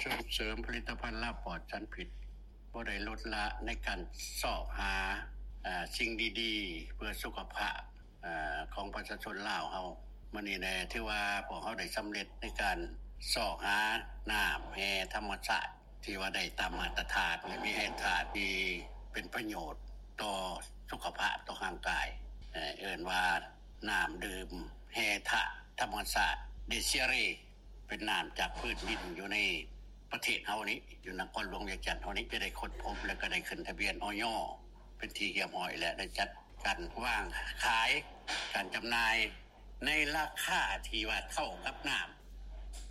ສົ່ງເສີມຜະລິດຕະພັນລາວປອດສານພິດ ບໍ່ໄດ້ລົດລະໃນການຊອກຫາ ເອີ ສິ່ງດີໆ ເພື່ອສຸຂະພາບ ເອີ ຂອງປະຊາຊົນລາວເຮົາ. ມື້ນີ້ແຫຼະ ຖືວ່າພວກເຮົາໄດ້ສຳເລັດໃນການຊອກຫານ້ຳແຮ່ທຳມະຊາດ ທີ່ວ່າໄດ້ຕາມມາດຕະຖານ ແລະ ມີແຮ່ທາດທີ່ເປັນປະໂຫຍດຕໍ່ສຸຂະພາບ ຕໍ່ຮ່າງກາຍ ເອີ້ນວ່ານ້ຳດື່ມແຮ່ທາດທຳມະຊາດ ເດເຊຍເຣ ເປັນນ້ຳຈາກພື້ນດິນຢູ່ໃນປະເທດເຮົານີ້ ຢູ່ນະຄອນຫຼວງວຽງຈັນເຮົານີ້ ຈະໄດ້ຄົ້ນພົບ ແລະ ກໍໄດ້ຂຶ້ນທະບຽນ ອອຍ ເປັນທີ່ຮຽບຮ້ອຍ ແລະ ໄດ້ຈັດການວາງຂາຍ ການຈຳໜ່າຍໃນລາຄາທີ່ວ່າເທົ່າກັບນ້ຳ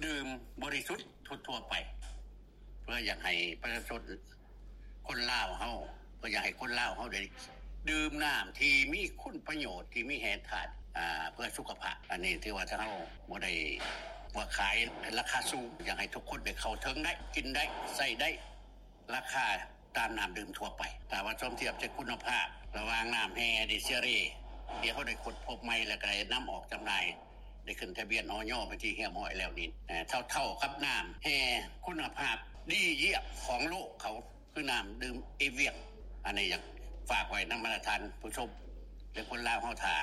ດື່ມບໍລິສຸດທົ່ວໆໄປ ເພື່ອຢາກໃຫ້ປະຊາຊົນຄົນລາວເຮົາ ເພື່ອຢາກໃຫ້ຄົນລາວເຮົາໄດ້ດື່ມນ້ຳທີ່ມີຄຸນປະໂຫຍດ ທີ່ມີແຮ່ທາດ ອາ ເພື່ອສຸຂະພາບ. ອັນນີ້ຖືວ່າທາງເຮົາບໍ່ໄດ້ວ່າຂາຍໃນລາຄາສູງ ຢາກໃຫ້ທຸກຄົນໄດ້ເຂົ້າເຖິງໄດ້ ກິນໄດ້ ໃຊ້ໄດ້ ລາຄາຕາມນ້ຳດື່ມທົ່ວໄປ. ຖ້າວ່າສົມທຽບໃສ່ຄຸນນະພາບລະຫວ່າງນ້ຳແຮ່ເດເຊຍເຣ ທີ່ເຮົາໄດ້ຄົ້ນພົບໃໝ່ ແລະ ກໍໄດ້ນຳອອກຈຳໜ່າຍ ໄດ້ຂຶ້ນທະບຽນ ອອຍ ເປັນທີ່ຮຽບຮ້ອຍແລ້ວນີ້ ເທົ່າໆກັບນ້ຳແຮ່ຄຸນນະພາບດີຢ້ຽມຂອງໂລກເຂົາ ຄືນ້ຳດື່ມເອວຽງ. ອັນນີ້ຢາກຝາກໄວ້ນຳບັນດາທ່ານຜູ້ຊົມ ແລະ ຄົນລາວເຮົາ ຖ້າ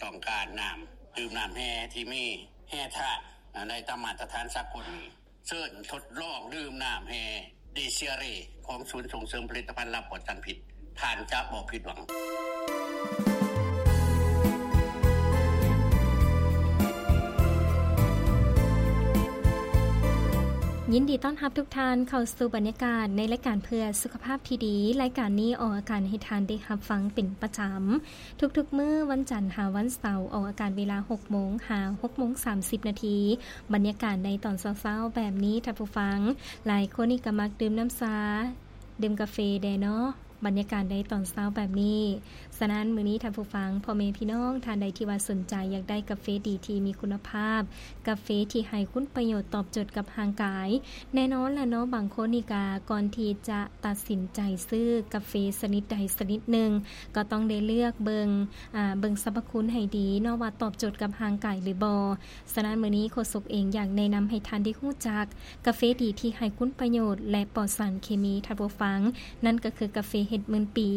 ຕ້ອງການນ້ຳດື່ມ ນ້ຳແຮ່ທີ່ມີແຮ່ທາດ ອາ ໄດ້ຕາມມາດຕະຖານສາກົນນີ້ ເຊີນທົດລອງດື່ມນ້ຳແຮ່ເດເຊຍເຣ ຂອງສູນສົ່ງເສີມຜະລິດຕະພັນລາວປອດສານພິດ ທ່ານຈະບໍ່ຜິດຫວັງ. ຍິນດີຕ້ອນຮັບທຸກທ່ານເຂົ້າສູ່ບັນຍາກາດໃນລາຍການເພື່ອສຸຂະພາບທີ່ດີ. ລາຍການນີ້ອອກອາກາດໃຫ້ທ່ານໄດ້ຮັບຟັງເປັນປະຈຳ ທຸກໆມື້ວັນຈັນຫາວັນເສົາ ອອກອາກາດເວລາຫົກໂມງຫາຫົກໂມງສາມສິບນາທີ. ບັນຍາກາດໃນຕອນເຊົ້າໆແບບນີ້ ທ່ານຜູ້ຟັງ ຫຼາຍຄົນນີ້ກໍມັກດື່ມນ້ຳຊາ ດື່ມກາເຟແດ່ເນາະ ບັນຍາກາດໃນຕອນເຊົ້າແບບນີ້. ສະນັ້ນ ມື້ນີ້ທ່ານຜູ້ຟັງ ພໍ່ແມ່ພີ່ນ້ອງທ່ານໃດທີ່ວ່າສົນໃຈຢາກໄດ້ກາເຟດີທີ່ມີຄຸນນະພາບ, ກາເຟທີ່ໃຫ້ຄຸນປະໂຫຍດຕອບໂຈດກັບຮ່າງກາຍ, ແນ່ນອນລະເນາະ ບາງຄົນນີ້ກະກ່ອນທີ່ຈະຕັດສິນໃຈຊື້ກາເຟຊະນິດໃດຊະນິດໜຶ່ງ ກໍຕ້ອງໄດ້ເລືອກເບິ່ງ ອາ ເບິ່ງສັບພະຄຸນໃຫ້ດີເນາະ ວ່າຕອບໂຈດກັບຮ່າງກາຍຫຼືບໍ່. ສະນັ້ນ ມື້ນີ້ໂຄສົກເອງຢາກແນະນຳໃຫ້ທ່ານໄດ້ຮູ້ຈັກກາເຟດີທີ່ໃຫ້ຄຸນປະໂຫຍດ ແລະ ປອດສານເຄມີ ທ່ານຜູ້ຟັງ, ນັ້ນກໍຄືກາເຟເຫັດໝື່ນປີ.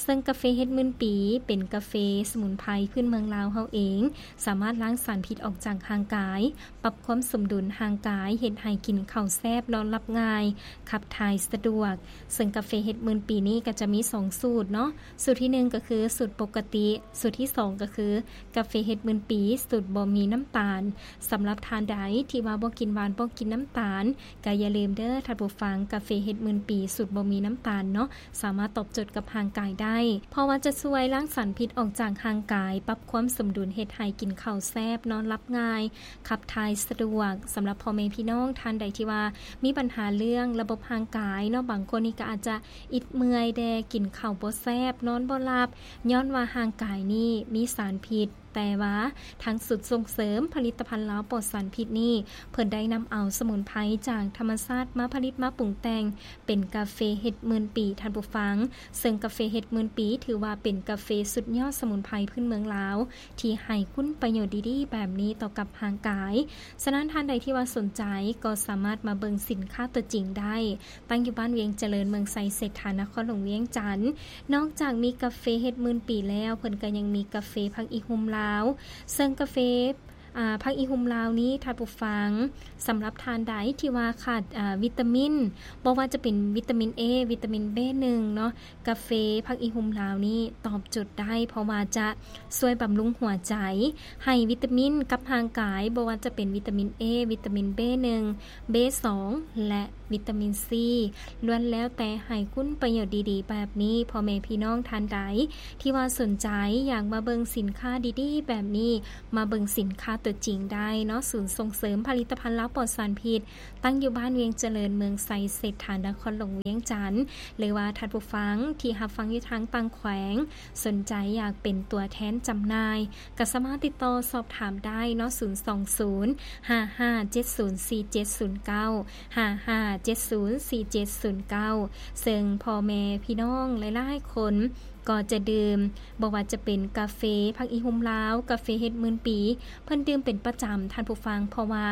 ເຊິ່ງກາເຟເຫັດໝື່ນປີເປັນກາເຟສະໝຸນໄພພື້ນເມືອງລາວເຮົາເອງ, ສາມາດລ້າງສານພິດອອກຈາກຮ່າງກາຍ, ປັບຄວາມສົມດຸນຮ່າງກາຍ, ເຮັດໃຫ້ກິນເຂົ້າແຊບ, ນອນຫຼັບງ່າຍ, ຂັບຖ່າຍສະດວກ. ເຊິ່ງກາເຟເຫັດໝື່ນປີນີ້ກໍຈະມີສອງສູດເນາະ, ສູດທີໜຶ່ງກໍຄືສູດປົກກະຕິ, ສູດທີສອງກໍຄືກາເຟເຫັດໝື່ນປີສູດບໍ່ມີນ້ຳຕານ. ສຳລັບທ່ານໃດທີ່ວ່າບໍ່ກິນຫວານ, ບໍ່ກິນນ້ຳຕານ, ກໍຢ່າລືມເດີທ່ານຜູ້ຟັງ, ກາເຟເຫັດໝື່ນປີສູດບໍ່ມີນ້ຳຕານເນາະ, ສາມາດຕອບໂຈດກັບຮ່າງກາຍໄດ້ ເພາະວ່າຈະຊ່ວຍລ້າງສານພິດອອກຈາກຮ່າງກາຍ, ປັບຄວາມສົມດຸນເຮັດໃຫ້ກິນເຂົ້າແຊບ, ນອນຫຼັບງ່າຍ, ຂັບຖ່າຍສະດວກ. ສຳລັບພໍ່ແມ່ພີ່ນ້ອງທ່ານໃດທີ່ວ່າມີບັນຫາເລື່ອງລະບົບຮ່າງກາຍເນາະ, ບາງຄົນນີ້ກໍອາດຈະອິດເມື່ອຍແດ່, ກິນເຂົ້າບໍ່ແຊບ, ນອນບໍ່ຫຼັບ, ຍ້ອນວ່າຮ່າງກາຍນີ້ມີສານພິດ. ແຕ່ວ່າທາງສູນສົ່ງເສີມຜະລິດຕະພັນລາວປອດສານພິດນີ້ ເພິ່ນໄດ້ນຳເອົາສະໝຸນໄພຈາກທຳມະຊາດມາຜະລິດມາປຸງແຕ່ງເປັນກາເຟເຫັດໝື່ນປີ ທ່ານຜູ້ຟັງ. ເຊິ່ງກາເຟເຫັດໝື່ນປີ ຖືວ່າເປັນກາເຟສຸດຍອດສະໝຸນໄພພື້ນເມືອງລາວ ທີ່ໃຫ້ຄຸນປະໂຫຍດດີໆແບບນີ້ຕໍ່ກັບຮ່າງກາຍ. ສະນັ້ນທ່ານໃດທີ່ວ່າສົນໃຈ ກໍສາມາດມາເບິ່ງສິນຄ້າຕົວຈິງໄດ້. ຕັ້ງຢູ່ບ້ານວຽງຈະເລີນ ເມືອງໄຊເສດຖາ ນະຄອນຫຼວງວຽງຈັນ. ນອກຈາກມີກາເຟເຫັດໝື່ນປີແລ້ວ, ເພິ່ນກໍຍັງມີກາເຟຜັກອີ່ຫຸ່ມລາວ. ເຊິ່ງກາເຟ ອາ ຜັກອີ່ຫຸ່ມລາວນີ້ ທ່ານຜູ້ຟັງ, ສຳລັບທ່ານໃດທີ່ວ່າຂາດ ອາ ວິຕາມິນ, ບໍ່ວ່າຈະເປັນວິຕາມິນເອ, ວິຕາມິນເບໜຶ່ງເນາະ, ກາເຟຜັກອີ່ຫຸ່ມລາວນີ້ຕອບໂຈດໄດ້, ເພາະວ່າຈະຊ່ວຍບຳລຸງຫົວໃຈ, ໃຫ້ວິຕາມິນກັບຮ່າງກາຍ, ບໍ່ວ່າຈະເປັນວິຕາມິນເອ, ວິຕາມິນເບໜຶ່ງ, ເບສອງ ແລະ ວິຕາມິນຊີ ລ້ວນແລ້ວແຕ່ໃຫ້ຄຸນປະໂຫຍດດີໆແບບນີ້. ພໍ່ແມ່ພີ່ນ້ອງທ່ານໃດທີ່ວ່າສົນໃຈຢາກມາເບິ່ງສິນຄ້າດີໆແບບນີ້, ມາເບິ່ງສິນຄ້າຕົວຈິງໄດ້ເນາະ. ສູນສົ່ງເສີມຜະລິດຕະພັນລາວປອດສານພິດ ຕັ້ງຢູ່ບ້ານວຽງຈະເລີນ ເມືອງໄຊເສດຖາ ນະຄອນຫຼວງວຽງຈັນ, ຫຼືວ່າທ່ານຜູ້ຟັງທີ່ຮັບຟັງຢູ່ທາງຕ່າງແຂວງ ສົນໃຈຢາກເປັນຕົວແທນຈຳໜ່າຍ, ກໍສາມາດຕິດຕໍ່ສອບຖາມໄດ້ເນາະ, ສູນສອງສູນ ຫ້າຫ້າເຈັດສູນ ສີ່ເຈັດສູນເກົ້າ ຫ້າຫ້າເຈັດສູນ ສີ່ເຈັດສູນເກົ້າ. ເຊິ່ງພໍ່ແມ່ພີ່ນ້ອງຫຼາຍໆຄົນ ກໍຈະດື່ມ ບໍ່ວ່າຈະເປັນກາເຟພັກອີ່ຮຸ່ມລາວ, ກາເຟເຫັດໝື່ນປີ, ເພິ່ນດື່ມເປັນປະຈຳທ່ານຜູ້ຟັງ, ເພາະວ່າ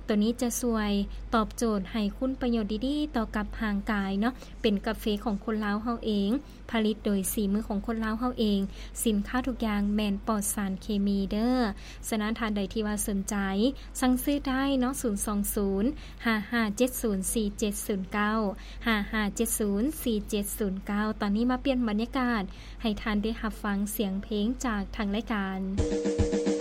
ໂຕນີ້ຈະຊ່ວຍຕອບໂຈດໃຫ້ຄຸນປະໂຫຍດດີໆຕໍ່ກັບຮ່າງກາຍເນາະ, ເປັນກາເຟຂອງຄົນລາວເຮົາເອງ, ຜະລິດໂດຍສີມືຂອງຄົນລາວເຮົາເອງ, ສິນຄ້າທຸກຢ່າງແມ່ນປອດສານເຄມີເດີ້. ສະນັ້ນທ່ານໃດທີ່ວ່າສົນໃຈ ສັ່ງຊື້ໄດ້ເນາະ, ສູນສອງສູນ ຫ້າຫ້າເຈັດສູນ ສີ່ເຈັດສູນເກົ້າ ຫ້າຫ້າເຈັດສູນ ສີ່ເຈັດສູນເກົ້າ. ຕອນນີ້ມາປ່ຽນບັນຍາກາດ ໃຫ້ທ່ານໄດ້ຮັບຟັງສຽງເພງຈາກທາງລາຍການ.